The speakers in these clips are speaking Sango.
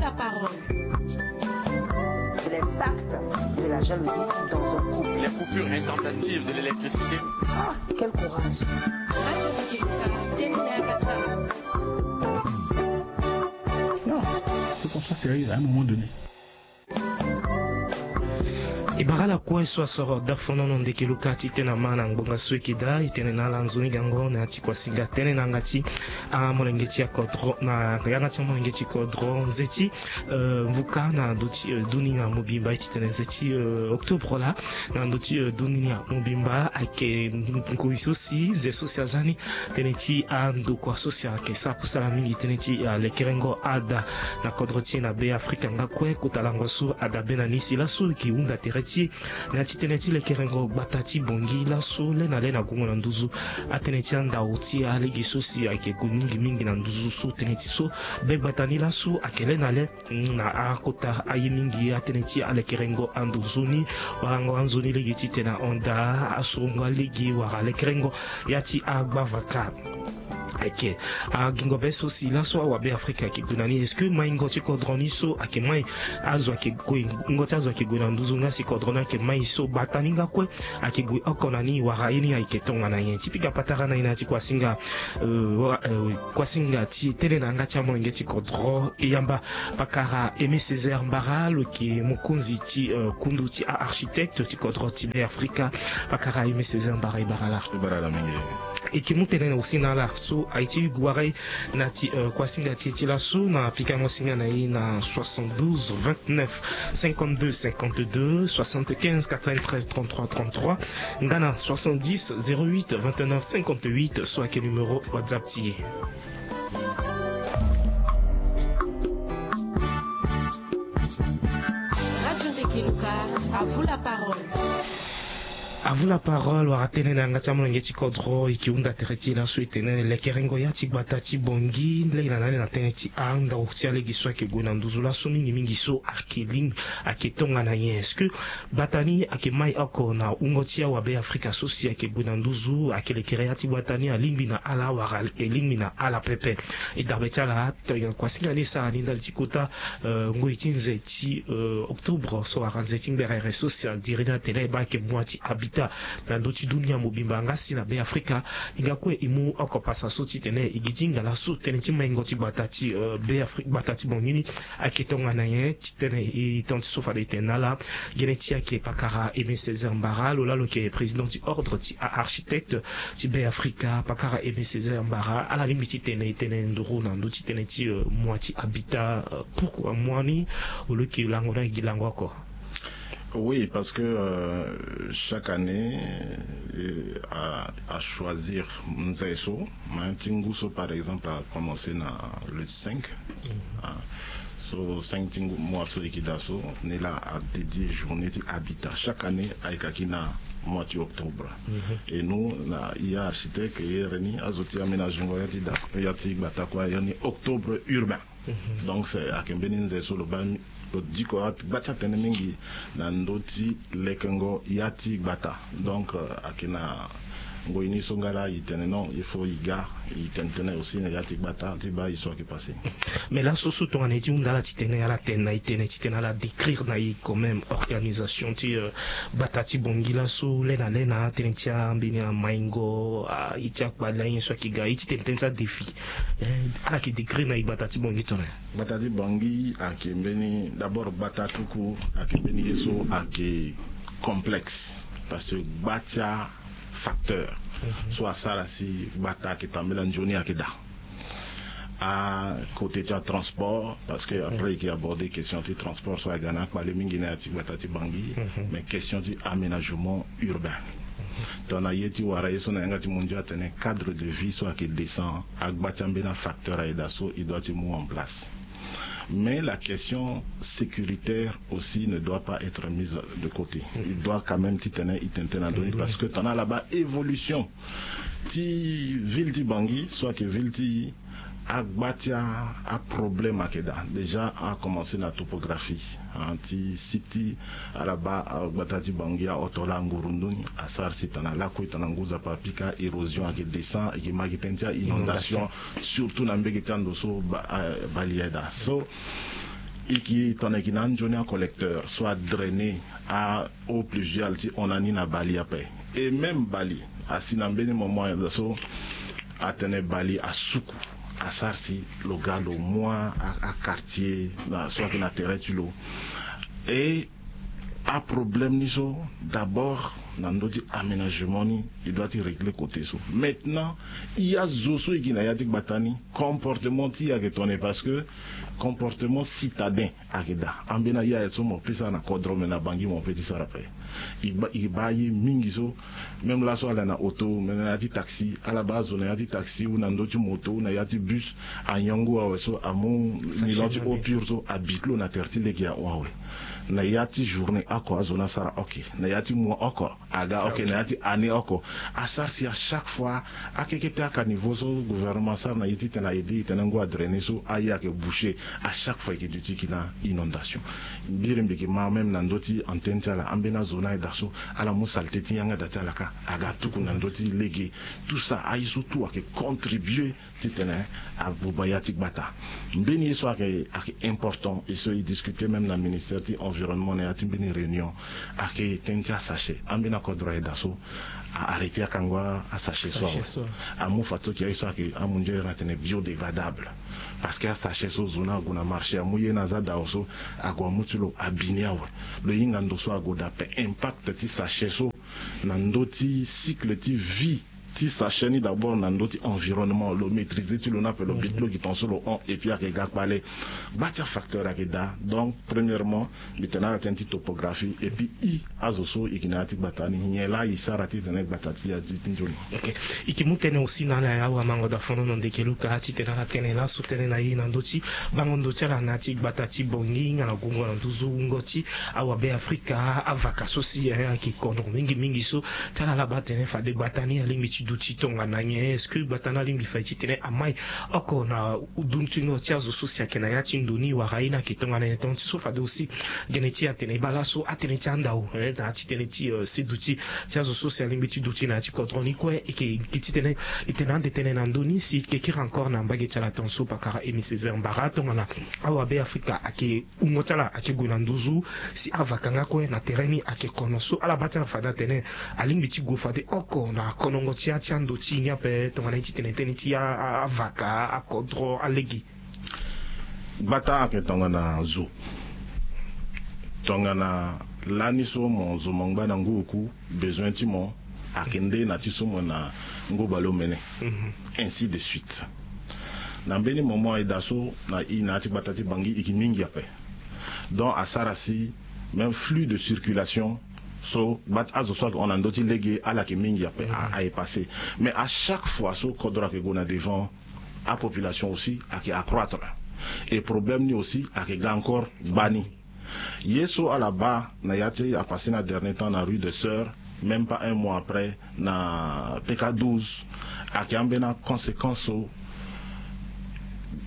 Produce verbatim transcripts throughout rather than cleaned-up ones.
La parole. L'impact de la jalousie dans un couple. Les coupures intempestives de l'électricité. Ah, quel courage. Non, il faut qu'on soit sérieux à un moment donné. E bara ala kue so asoro dafonono ndeke luka ti tene ama na ngbonga so eke daa, e tene na ala nzoni gango na ya ti kuasinga tene na yanga ti amolenge ti akodro, na yanga ti amolenge ti kodro nze ti, euh, mvuka na ndö ti, euh, dunia mobimba, e ti tene nze ti, euh, octobre laa na ndö ti, euh, dunia mobimba. Ayeke ngoi so si nze so si aza ni tënë ti andokua so si ayeke sara kusala mingi tënë ti, ah, lekerengo ada na kodro ti e na Be Afrika nga kue. Kota lango so adabe na ni si laso e ke hunda tere ti e na ya ti tënë ti lekerengo gbata ti Bangui laso le na le na gungo na nduzu. Atënë ti andau ti e alege so si ayeke gue mingi mingi na nduzu so tënë ti so be gbata ni laso ayeke le na le. Mm, na akota aye mingi atënë ti alekerengo ando nzoni, warango anzoni lege titene ahon daa, asurongo alege wala lekerengo ya ti agbavaka. Eke, agingo be so si laso awabe Afrika ayeke gue na ni. Est-ce que maingo ti kodro ni so ayeke mai azo ayeke gue, ingo ti azo ayeke gue na nduzu nga si kodro ni ayeke mai so gbata ni nga kue ayeke gue oko na ni, wala ye ni ayeke tongana nyen? Ti pika patara na e na ya ti kuasinga, euh, wa-, euh, kuasinga ti e tënë na yanga ti amolenge ti kodro, e yamba pakara Aimé Césaire Mbara, lo yeke mokonzi ti, euh, kundu ti a-architecte ti kodro ti Be Afrika. Pakara Aimé Césaire Mbara, e bara laa. E bara laa mingi. E yeke mu tënë na aussi na ala so aye ti wara e na ya ti, euh, kuasinga ti e ti laso na pikango singa na e na soixante-douze vingt-neuf cinquante-deux cinquante-deux, soixante-quinze quatre-vingt-treize trente-trois trente-trois, nga na soixante-dix zéro huit vingt-neuf cinquante-huit so ayeke numéro WhatsApp ti e. Radio Ndeke Luka, à vous la parole. À vous la parole, wara tënë na yanga ti amolenge ti kodro, e yeke hunda tere ti e laso e tene lekerengo ya ti gbata ti Bangui, lege na lege na tënë ti andau ti alege so ayeke gue na nduzu laso mingi mingi so ayeke lingbi, ayeke tongana nyen? Est-ce que gbata ni ayeke mai oko na wungo ti awabe Afrika so si ayeke gue na nduzu, ayeke lekere ya ti gbata ni alingbi na ala wala ayeke lingbi na ala pepe? E dabe ti ala, to, kuasinga ni e sara ni ndali ti kota, euh, ngoi ti nze ti, euh, octobre so wara nze ti ngberere so si adiri ni atene e baa ayeke mua ti habitat na ndö ti dunia mobimba nga si na Be Afrika. E ga kue e mu oko pasa so titene e gi ti hinga laso tënë ti maingo ti gbata ti, euh, Be Afrika, gbata ti Bangui ni ayeke tongana nyen? Titene e tene ti so fade e tene na ala, gene ti e ayeke pakara Aimé Césaire Mbara, lo laa lo yeke président ti ordre ti a-architecte ti Be Afrika. Pakara Aimé Césaire Mbara, ala lingbi titene e tene nduru na ndö ti tënë ti, euh, mua ti habitat, euh, pourquoi mua ni? Au lieu que lango ni ayeke gi lango oko. Oui, parce que, euh, chaque année, euh, à, à choisir nze so, hein, ti ngu so, par exemple, a commencé na le cinq, hein, so cinq ti ngu, mois so e yeke daa so, ni laa a dédié journée ti habitat. Chaque année ayeke kaki na mois ti octobre. Et nous, na ya architecte, e here ni azo ti aménagengo ya ti da, ya ti gbata kue, ya ni octobre urbain. Donc c'est, ayeke mbeni nze so lo baa, lo diko gba ti atënë mingi na ndö ti lekengo ya ti gbata. Donc, euh, ayeke na ngoi ni so nga laa e tene non, il faut e ga e tene tënë aussi na ya ti gbata ti baa ye so ayeke passé. Mais laso so tongana e ti hunda ala titene ala tene na e tënë titene ala décrire na e quand même organisation ti, euh, gbata ti Bangui laso le na le na tënë ti ambeni amaingo, ah, ye ti akpale, ayen so ayeke ga, ye ti tene tënë ti adéfi. Eh, ala yeke décrire na e gbata ti Bangui tongana nyen? Gbata ti Bangui ayeke mbeni, d'abord gbata tout court ayeke mbeni ye so ayeke complexe, parce que gba ti afacteur so asara si gbata ayeke tambela nzoni ayeke daa. A côté ti atransport, parce que après e yeke aborder question ti transport so aga na akpale mingi na ya ti gbata ti Bangui, mais question ti aménagement urbain. Tongana ye ti wara ye so na yanga ti mondial atene cadre de vie so ayeke décent, agba ti ambeni afacteur ayeke daa so e doit ti mu en place. Mais la question sécuritaire aussi ne doit pas être mise de côté. E doit quand même titene e tene tënë na ndö ni, parce que tongana ala baa évolution ti ville ti Bangui so ayeke ville ti agba ti a, aproblème ayeke daa. Déjà a commencé na topographie, hein, ti site ti ala baa, ah, gbata ti Bangui ahon tongana ngurundu ni, asara si tongana lakue tongana ngu nzapa apika, érosion ayeke décent, e yeke ma gi tënë ti a-inondation, surtout na mbege ti ando so ba, ah, bale ayeke daa. So E ke tongana e ke na anzoni acollecteur so adrainer a-eau pluviale ti hon na ni na bali ape. Et même bali asi na mbeni moment so atene bali asuku, asara si lo ga lo mu a, a, aquartier na so ayeke na tere ti lo. Et aproblème ni so, d'abord na ndö ti aménagement ni, e doit ti régler côté so. Maintenant, e azo so e gi na ya ti gbata ni, comportement ti e ayeke tongana nyen? Parce que comportement citadin ayeke daa. Ambeni aye aye so mo peut sara na kodro, me na Bangui mo peut ti sara ape. E baa, e baa aye mingi so, même laso ala na auto, me na ya ti taxi, ala baa azo na ya ti taxi ou na ndö ti moto ou na ya ti bus, anyon ngu awe so amu nylon ti eau pure so abi ti lo na tere ti lege ahon awe. Na ya ti journée oko azo ni asara, ok. Na ya ti mois oko aga, ok. Na ya ti année oko. Asara si à chaque fois, akeke ti acaniveau so gouvernement asara na e titene a aider e tene ngu adrainer so, aye ayeke boucher. À chaque fois e yeke duti e ke na inondation. Mbiri mbi yeke ma même na ndö ti antenne ti ala, ambeni azo ni aye daa so ala mu saleté ti yanga daa ti ala kâ, aga tuku na ndö ti lege. Tout ça, aye so tout ayeke contribuer titene abuba ya ti gbata. Mbeni ye so ayeke, ayeke important, e so e discuter même na ministère ti environnement na ya ti mbeni réunion, ayeke tënë ti asachet. Ambeni akodro aye daa so a arrêter akango asachet so awe. Amu fadeso ayeke aye so ayeke amu nzoni ere na tene biodégradable. Parce que asachet so zo ni ague na marché, amu ye na aza dao so, ague amu ti lo abi ni awe. Lo hinga ndo so ague daa ape. Impact ti sachet so na ndö ti cycle ti vie ti sachet ni, d'abord na ndö ti environnement, lo maîtriser ti lo ni ape, lo bi ti lo gi tongaso lo hon, et puis ayeke ga kpale. Gba ti afacteur ayeke daa. Donc premièrement, mbi tene ala tënë ti topographie, et puis e azo so e gi na ya ti gbata ni, nyen laa e sara titene gbata ti e aduti nzoni? Ok. E ke mu tënë aussi na ala ya awamango daa fonono ndeke luka titene ala tene laso tënë na e na ndö ti bango ndo ti ala na ya ti gbata ti Bangui nga na gungo na nduzu wungo ti awabe Afrika, avaka so si, eh, ayeke kono mingi mingi so ti ala ala baa atene fade gbata ni alingbi ti duti tongana nyen? Est-ce que gbata ni alingbi fade titene amai oko na duntingo ti azo so si ayeke na ya ti ndo ni, wala aye ni ayeke tongana nyen? Tonga ti so fade aussi gene ti e atene e baa laso atënë ti andao, eh, na ya ti tënë ti, eh, seduti ti azo so si alingbi ti duti na ya ti kodro ni kue. E yeke gi titene e tene ande tënë na ndö ni si e yeke kiri encore na mbage ti ala tongaso pakara Aimé Césaire Mbara tongana awabe Afrika ayeke wungo ti ala ayeke gue na nduzu, si avaka nga kue na tere ni ayeke kono so ala baa ti ala fade atene alingbi ti gue fade oko na konongo ti ya ti ando ti e ni ape tongana ye ti tene tënë ti a, a, avaka, akodro, alege. Gbata ayeke tongana zo. Tongana lani so mo zo mo ngba na ngu oku, besoin ti mo ayeke nde na ti so mo na ngu baleomene. Mhm. Ainsi de suite. Na mbeni moment aye daa so na e na ya ti gbata ti Bangui e yeke mingi ape. Donc asara si même flux de circulation so gba ti azo so ayeke hon na ndö ti lege ala yeke mingi ape, a, ayeke passé. Mais à chaque fois so kodro ayeke gue na devant, apopulation aussi ayeke accroître. Et problème ni aussi ayeke ga encore gbani. Ye so ala baa na ya ti apasser na dernier temps na rue des Sœurs, même pas un mois après, na P K douze, ayeke ambeni aconséquence so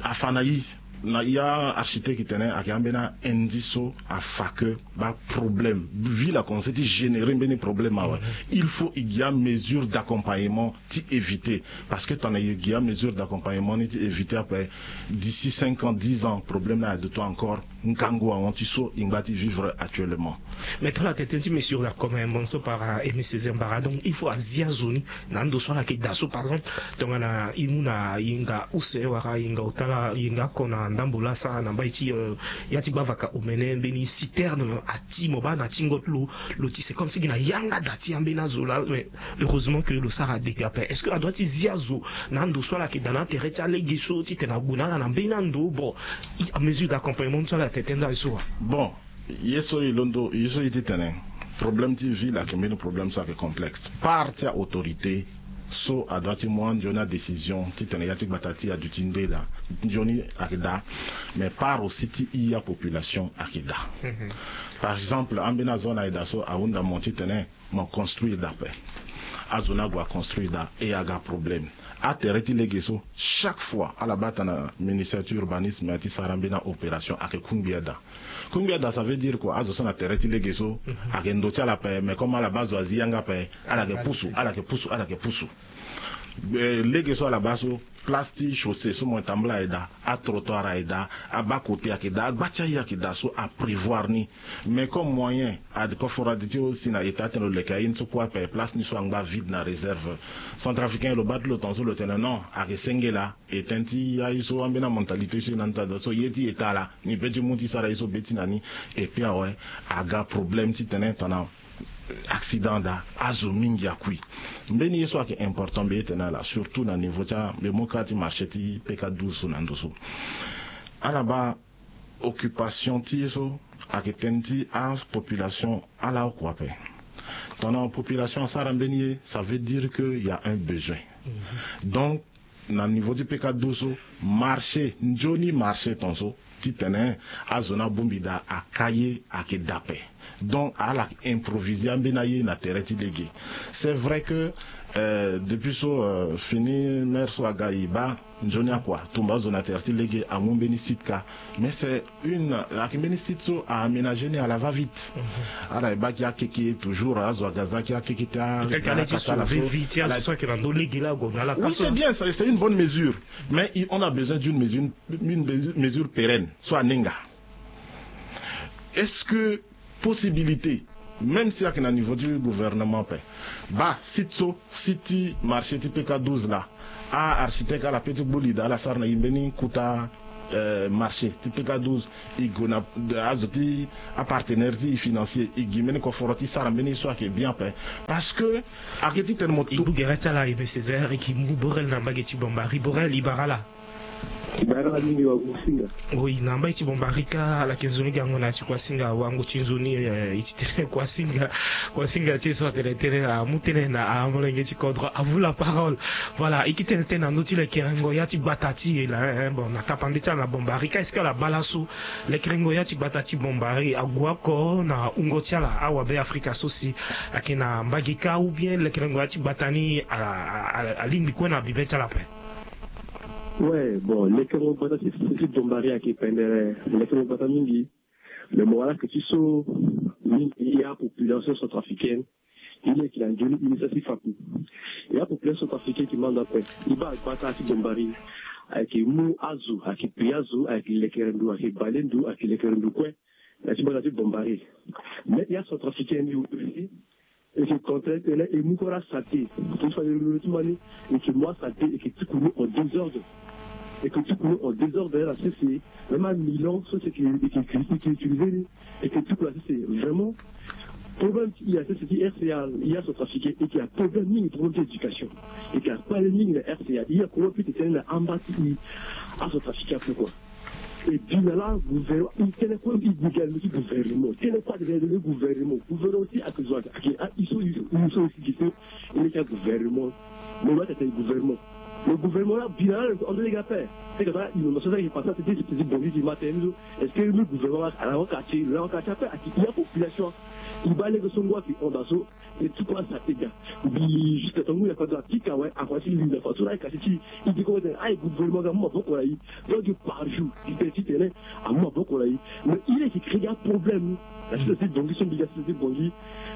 afa na e. Na ya architecte tene ayeke ambeni a-indice so afa que baa problème, ville akomense ti générer mbeni problème awe. Il faut e gi amesure d'accompagnement ti éviter. Parce que tongana e gi amesure d'accompagnement ni ti éviter ape, d'ici cinq ans, dix ans, problème ni aduti encore ngangu ahon ti so e ngba ti vivre actuellement. Mais tongana tene tënë ti mesure d'accompagnement so par, euh, Aimé Césaire Mbara, donc il faut azi azo ni na ando so ala yeke daa so, par exemple tongana e mu na yenga use wala yenga ota laa, yenga oko na ndambo laa asara na mbai ti, euh, ya ti gbavaka omene mbeni citerne ati mo baa na tingo ti lo, lo ti c'est comme si gi na yanga daa ti ambeni azo laa, mais heureusement que lo sara dégât ape. Est-ce que adoit ti zi azo na ando so ala yeke daa na atere ti alege so titene ague na ala na mbeni ando? Bon, amesure d'accompagnement so ala tene tënë ti azo so wa? Bon, ye so e londo, ye so e ti tene problème ti ville ayeke mbeni problème so ayeke complexe. Part ti autorité so adoit ti mu anzoni adécision titene ya ti gbata ti e aduti nde daa, nzoni ayeke daa. Mais part aussi ti e apopulation ayeke daa. Mhm. Par exemple ambeni azo ni aye daa so ahunda mo titene mo construire daa ape. Azo ni ague aconstruire daa e aga problème. Atere ti lege so chaque fois ala baa tana ministère ti urbanisme ti sara mbeni aopération ayeke kungbia daa. Kungbia daa, ça veut dire quoi? Azo so na tere ti lege so, mhm, ayeke ndo ti ala ape, mais comme ala baa zo azi yanga ape, ala yeke pusu, ala yeke pusu, ala yeke pusu. Eh, lege so ala baa so, place ti chaussée so mo tambula ayeke daa, atrottoir ayeke daa, abas côté ayeke daa, agba ti aye ayeke daa so aprévoir ni. Mais comme moyen ade koforo ade ti lo si na état ti tene lo leke aye ni so kue ape, place ni so angba vide na réserve. Centrafricain lo baa ti lo tongaso lo tene non, ayeke senge laa. E tënë ti aye so ambeni amentalité so e na ni daa so ye ti état laa, ni pe ti mu ti sara ye so be ti na ni. Et puis awe, aga problème titene tongana accident daa, azo mingi akui. Mbeni ye so ayeke important mbi ye tene ala, surtout na niveau ti a, mbi mu ka ti marché ti P K douze so na ndo so. Ala baa occupation ti ye so ayeke tënë ti apopulation ala oko ape. Tongana population asara mbeni ye, ça veut dire que il y a un besoin. Donc na niveau ti P K douze so, marché, nzoni marché tongaso, titene azo ni abongbi daa, aka ye ayeke daa ape. Donc ala improviser ambeni aye na tere ti lege. C'est vrai que, euh, depuis so, euh, fini maire so aga, e baa nzoni akua, tumba azo na tere ti lege, amu mbeni site ka. Mais c'est une, ayeke mbeni site so a aménager ni à la va vite. Ala e baa ki akeke toujours, azo aga za ki akeke ti a, peut-être ala ti sauver vie ti azo so ayeke na ndo lege laa ague na ala. Oui, c'est bien, c'est une bonne mesure. Mais on a besoin d'une mesure, une mesure, mesure pérenne, so aninga. Est-ce que possibilité, même si ayeke na niveau du gouvernement ape, baa site so, site ti marché ti P K douze laa, a architecte ala pe ti gbu li daa, ala sara na e mbeni kota, euh, marché ti P K douze, e gue na azo ti apartenaire ti e financier, e gi mbeni koforo ti sara mbeni ye so ayeke bien ape. Parce que ayeke titene mo, e du gere ti ala, Aimé Césaire, e ke mu Borel na mbage ti Bambari. Borel, e bara ala. E bara ala mingi, wa Kuasinga. Oui, na mbage ti Bambari ka, ala yeke nzoni gango na ya ti Kuasinga, wango ti nzoni, eh, e ti tene Kuasinga, Kuasinga ti e so atene tënë, amu tënë na amolenge ti kodro. À vous la parole. Voilà, e ke tene tënë na ndö ti lekerengo ya ti gbata ti e laa, eh, bon, na tapande ti ala na Bambari ka, est-ce que ala baa laso lekerengo ya ti gbata ti Bambari ague oko na wungo ti ala, awabe Afrika so si ayeke na mbage ka, ou bien lekerengo ya ti gbata ni a, a, a, alingbi kue na bibe ti ala ape? Ouais, bon, lekerengo gbata ti, ti Bambari ayeke pendere lekerengo gbata mingi. Mais mo wara ayeke ti so mingi ya population centrafricaine, e leke na nzoni initiative ti faku. Ya population centrafricaine ayeke ma ndo ape. E baa gbata ti Bambari ayeke mu azo, ayeke pei azo, ayeke lekere ndo, ayeke bale ndo, ayeke lekere ndo kue na ya ti gbata ti Bambari. Mais ya centrafricaine ni aussi, e yeke contraire tënë, e mu kue asaleté. Tongana e fa lolenge ti ma ni, e yeke mu asaleté, e yeke ti kulu en désordre. E yeke ti kulu en désordre na sese, même amilan so si e yeke, e yeke, e yeke utiliser ni, e yeke ti kulu na sese. Vraiment, problème ti e na sese ti R C A, ya centrafricain, e yeke na problème mingi, problème ti éducation. E yeke na kpale mingi na R C A. E yeke na problème ti tene na amba ti e, acentrafricain ape kua. E bi na laa gouvernement, e tene kue e gi ga na ndö ti gouvernement, tene kue ade ga na ndö ti gouvernement. Gouvernement aussi ayeke zo, ayeke, ah, e so, e so, e so aussi gi so e leke agouvernement. Mo lo atene gouvernement. Lo gouvernement laa bi na laa lo yeke hors de lege ape. Tene ka so inondation so ayeke passé na tete ti Bangui ti ma tene ni so. Est-ce que lo gouvernement ala wara quartier, lo wara quartier ape? Ayeke ya population. E baa lege so ngu ayeke hon daa so. E ti kue asara ti ga. Mbi jusqu'à tonga ngu na fade apika awe, akua ti linda fadeso la ayeke quartier ti e. E di kue tene aye gouvernement aga amu maboko na e. Donc par jour e tene ti tene amu maboko na e. Mais e leke créer aproblème. Na sese ti Bangui so mbi ga sese ti Bangui.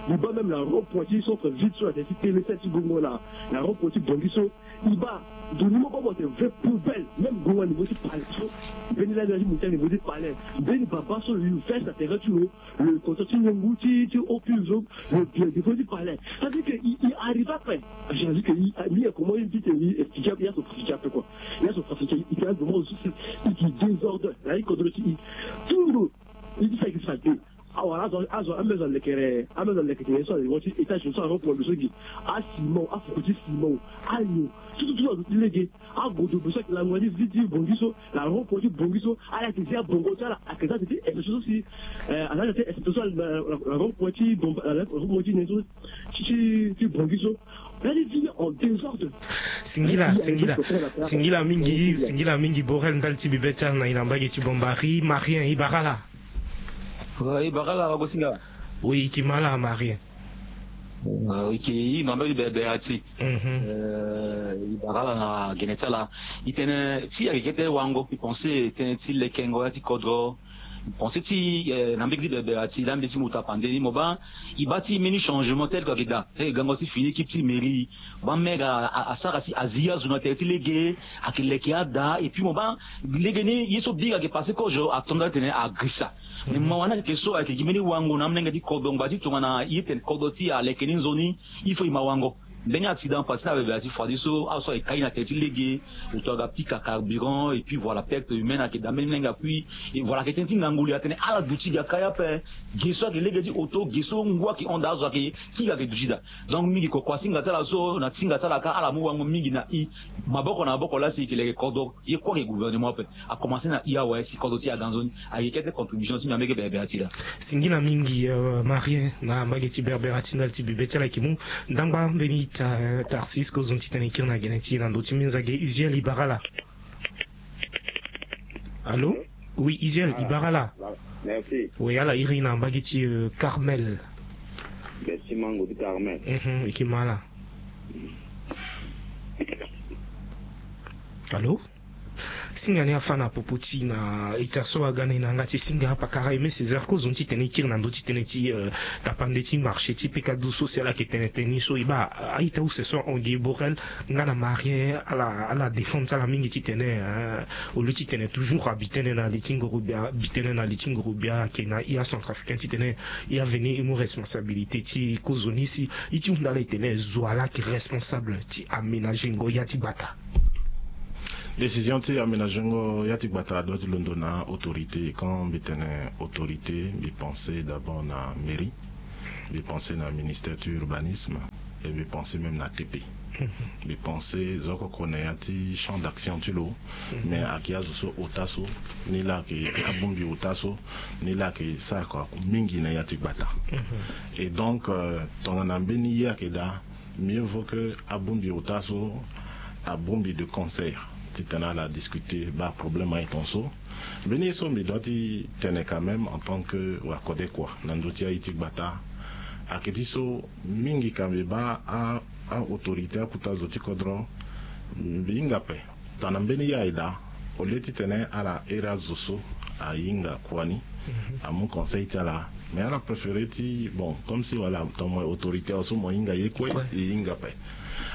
Mbi baa même na rond-point ti centre ville so na tene ti tene sese ti gongo na, na rond-point ti Bangui so. E baa ndo ni mo baa mo tene vrai poubelle. Même gongo na niveau ti palais so. Mbeni lani na ti montagne niveau ti palais. Mbeni baba so lo yu veste na terrain ti lo. Le contrat ti niongo ti, ti opuse lo, le bien défaut ti palais. Ça veut dire que il, il arrive après. J'ai dit que il, mi comment il dit que il explique, il y a son trafic un peu quoi. Il y a son trafic, il y a vraiment aussi, il dit désordre. Là, il contrôle aussi. Tout le monde, il dit ça, il dit ça. Awara azo, azo, ame azo alekere, ame azo alekere so, azo ti étage so, azo pour le soki. Asimon, afuku ti simon, anyo, tout, tout, tout, azo ti lege. Agodo beso ayeke lango na ti vi ti Bangui so, na rond-point ti Bangui so, ala yeke zi abongo ti ala, ayeke za tene ti exception so si, eh, aza tene ti exception so na, na, na rond-point ti Bangui, na rond-point ti nen so, ti, ti, ti Bangui so. Ala ti zi en désordre. Singila, singila, singila mingi, singila mingi Borel ndali ti bibe ti ala na e na mbage ti Bambari. Marien, e bara ala. Eh, e bara ala, wagosinga. Oui, e ke ma ala Marien. Eh, e ke, e na mbage ti bebe ati. Mhm. Eh, e bara ala na gene ti ala. E tene ti ayeke kete wango, e pense tënë ti lekengo ya ti kodro. Pensé ti eh, na mbege ti bebere ati laa mbi ti mo tapande ni mo baa. E baa ti mbeni changement tel que ayeke daa, eh, gango ti fini équipe ti mairie. Baa maire asara si azi azo na tere ti lege. Ayeke leke ada et puis mo baa lege ni ye so biri ayeke passé kozo ato nda titene agrisa. Mais mawa ni ayeke so ayeke gi mbeni wango na amolenge ti kodro ngba ti tongana ye tene kodro ti e aleke ni nzoni. Il faut e ma wango. Mbeni accident passé na bebere ati fadi so azo so ayeke kai na tere ti lege. Oto aga pika carburant et puis voilà perte humaine ayeke daa mbeni mlenge akui. Et voilà ayeke tënë ti ngangu li atene ala duti gi akai ape. Ge so ayeke lege ti oto ge so ngu ayeke hon daa azo ayeke kiri ayeke duti daa. Donc mingi koko asinga ti ala so na ti singa ti ala kâ ala mu wango mingi na e. Maboko na maboko laa si e yeke leke kodro ye kue ayeke gouvernement ape. Akomanse na e awe si kodro ti e aga nzoni. Ayeke kete contribution ti mbi na mbege bebere ati laa. Singila mingi. Marien na mbage ti berbera ti ndali ti bibe ti ala yeke mu. Ndangba mbeni tarsis kozoni titene e kiri na gene ti e na ndö ti minzage usiel e bara ala. Allô? Oui, usiel e bara ala. Oui, ala iri na mbage ti carmel. Merci mango ti carmel. E ke ma ala. Allô? Singa ni afa na popo ti na ita so aga na e na yanga ti singa apakara eme césar kozoni titene e kiri na ndö ti tënë ti tapande ti marché ti pekadu so si ala yeke tene tënë ni so e baa a-ita use so ahon gi borel. Nga na marien ala ala défendre ti ala mingi titene au lieu titene toujours abi tënë na li ti ngorobia abi tënë na li ti ngorobia ayeke na e acentrafricain titene e aveni e mu responsabilité ti kozoni si e ti hunda ala e tene zo ala ayeke responsable ti aménagengo ya ti gbata. Décision ti aménagengo ya ti gbata adoit ti londo na autorité quand mbi tene autorité mbi pensé d'abord na mairie. Mbi pensé na ministère ti urbanisme. Et mbi pensé même na TP. Mbi pensé zo oko na ya ti champ d'action ti lo. Mais ayeke azo so ota so ni laa ayeke abongbi ota so ni laa ayeke sara kua mingi na ya ti gbata. Et donc tongana mbeni ye ayeke daa mieux vaut que abongbi ota so abongbi de concert titene ala discuter baa problème aye ton so. Mbeni ye so mbi doit ti tene quand même en tant que wakode kua na ndö ti aye ti gbata. Ayeke ti so mingi ka mbi baa a autorité akuta zo ti kodro mbi hinga ape. Tongana mbeni ye aye daa au lieu titene ala here azo so ahinga kua ni amu conseil ti ala. Mais ala préféré ti bon comme si wala tongana mo autorité awe so mo hinga ye kue e hinga ape.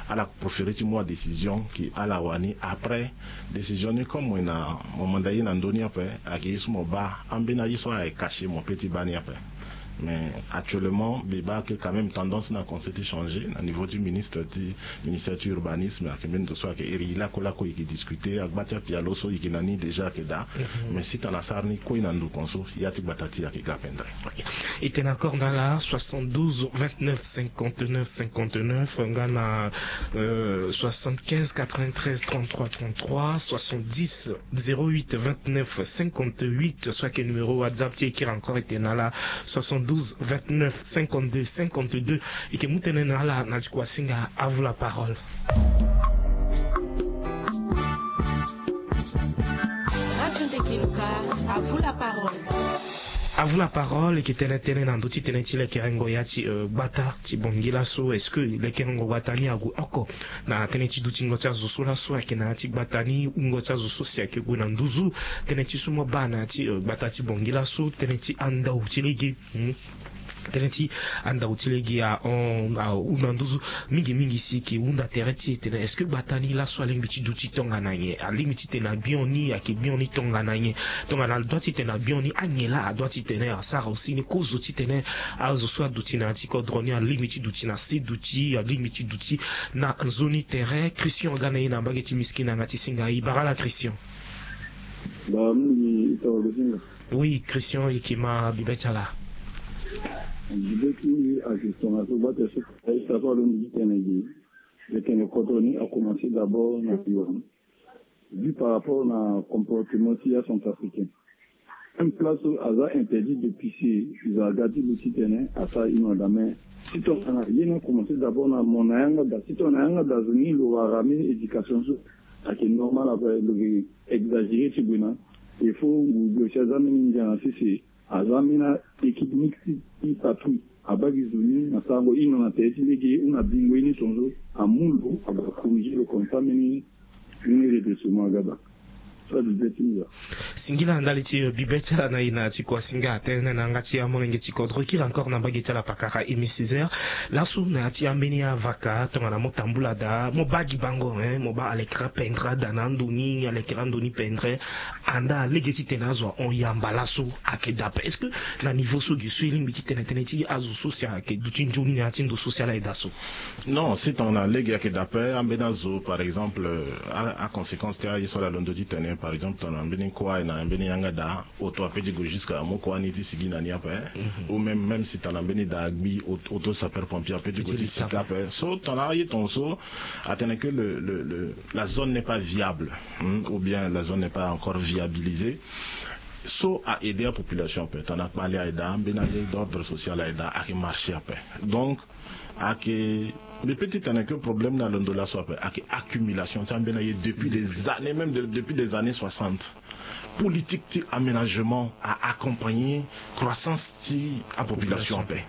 Ala préféré ti mu adécision ki ala wani après. Décision ni comme mo ye na mo manda ye na ndö ni ape. Ayeke ye so mo baa ambeni aye so ayeke caché mo pe ti baa ni ape. Mais actuellement mbi baa ke quand même tendance na conseil ti changer na niveau ti ministre ti ministère ti urbanisme ayeke mbeni ndo so ayeke iri lakue lakue e yeke discuter agba ti apialo so e yeke na ni déjà ayeke daa. Mais si tongana asara ni kue na ndo konso ya ti gbata ti e ayeke ga pendere. E tene encore na ala soixante-douze vingt-neuf cinquante-neuf cinquante-neuf nga na soixante-quinze quatre-vingt-treize trente-trois trente-trois soixante-dix zéro huit vingt-neuf cinquante-huit so ayeke numéro whatsapp ti e kiri encore e tene na ala soixante-douze vingt-neuf cinquante-deux cinquante-deux. E ke mu tënë na ala na ti kua singa. À vous la parole. Radio Ndekeloka, à vous la parole. À vous la parole. E ke tene tënë na ndö ti tënë ti lekerengo ya ti gbata ti bongi laso. Est-ce que lekerengo gbata ni ague oko na tënë ti dutingo ti azo so laso ayeke na ya ti gbata ni wungo ti azo so si ayeke gue na nduzu? Tënë ti so mo baa na ya ti gbata ti bongi laso tënë ti andau ti lege. Tënë ti andau ti lege ahon ahunda nduzu mingi mingi si e ke hunda tere ti e tene est-ce que gbata ni laso alingbi ti duti tongana nyen? Alingbi ti tene abion ni ayeke bion ni tongana nyen? Tongana adoit ti tene abion ni anyen laa adoit ti tene asara aussi ni kozo ti tene azo so aduti na ya ti kodro ni alingbi ti duti na se duti alingbi ti duti na nzoni tere. Christian aga na e na mbage ti miskina nga ti singa e bara ala Christian. Ba mingi e toro lo singa. Oui, Christian e ke ma bibe ti ala. Bibe ti mbi ayeke tongaso gbata so aye sapa lo mbi ti tene gi. Leke ni kodro ni akomanse d'abord na biwa. Vu par rapport na comportement ti acentrafricain. Même place so aza interdit de pisser. Izo aga ti lo ti tene asara hino ada mais si tongana ye ni akomanse d'abord na mo na yanga da si tongana yanga da zo ni lo wara mbeni éducation so. Ayeke normal ape lo ke exagéré ti gue na. Il faut ngu gue si aza mbeni ndia na sese. Aza mbeni équipe mixte ti patrouille abaa gi zo ni na sarango hino na tere ti lege ou na bingo ye ni tongaso. Amu lo abaa corrigé lo comme ça mbeni mbeni redressement aga da. Singila na ndali ti bibe ti ala na e na ti kua singa tënë na yanga ti amolenge ti kodro kiri encore na mbage ti ala pakara Aimé Césaire. Laso na ya ti ambeni avaka tongana mo tambula daa mo baa gi bango, hein, mo baa alekera pendre ada na ando ni alekera ando ni pendre. Andaa lege titene azo ahon yamba laso ayeke daa ape. Est-ce que na niveau so gi so e lingbi titene tënë ti azo so si ayeke duti nzoni na ya ti ndo so si ala yeda so? Non, si tongana lege ayeke daa ape, ambeni azo par exemple, aconséquence ti aye so ala londo titene par exemple tongana mbeni kua aye na mbeni yanga daa, oto ape ti gue jusqu'à mo kua ni ti sigi na ni ape. Ou même même si tongana mbeni daa agbi, oto sapeur pompier ape ti gue ti sigi ape. So tongana aye tongaso atene que le, le, le, la zone n'est pas viable, ou bien la zone n'est pas encore viabilisée. So a aider apopulation ape tongana kpale aye daa, mbeni aye d'ordre social aye daa ayeke marché ape. Donc ayeke, mbi pe ti tene que problème ni alondo laso ape ayeke accumulation ti ambeni aye depuis des années, même depuis des années soixante. Politique ti aménagement a accompagner croissance ti apopulation ape.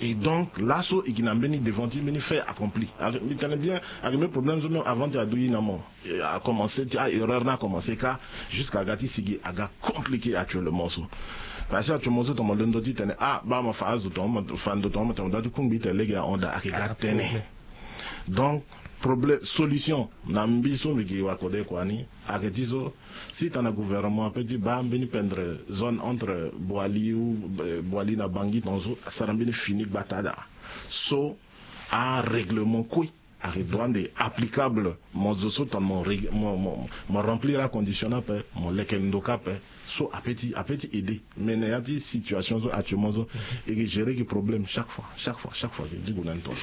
Et donc laso e gi na mbeni devant ti mbeni fait accompli. Mbi tene bien, ayeke mbeni problème so même avant ti adu ye na mo, a commencé ti a erreur ni a commencé kâ jusqu'à aga ti sigi aga compliqué actuellement so. Parce que actuellement so tongana mo londo titene ah baa mo fa azo tongana mo fa ndo tongana mo tene mo dua ti kungbi tene lege ahon daa ayeke ga tënë. Donc problème solution na mbi so mbi gi wakode kua ni ayeke ti so, si tongana gouvernement ape ti baa mbeni pendre zone entre Boali ou Boali na Bangui tongaso asara mbeni fini gbata daa. So arèglement kue ayeke droit nde applicable. Mo zo so tongana mo remplir acondition ni ape, mo leke ndo kâ ape. So ape ti ape ti aider. Mais na ya ti situation so actuellement so e ke gérer gi problème chaque fois chaque fois chaque fois ti gue na ni tongaso.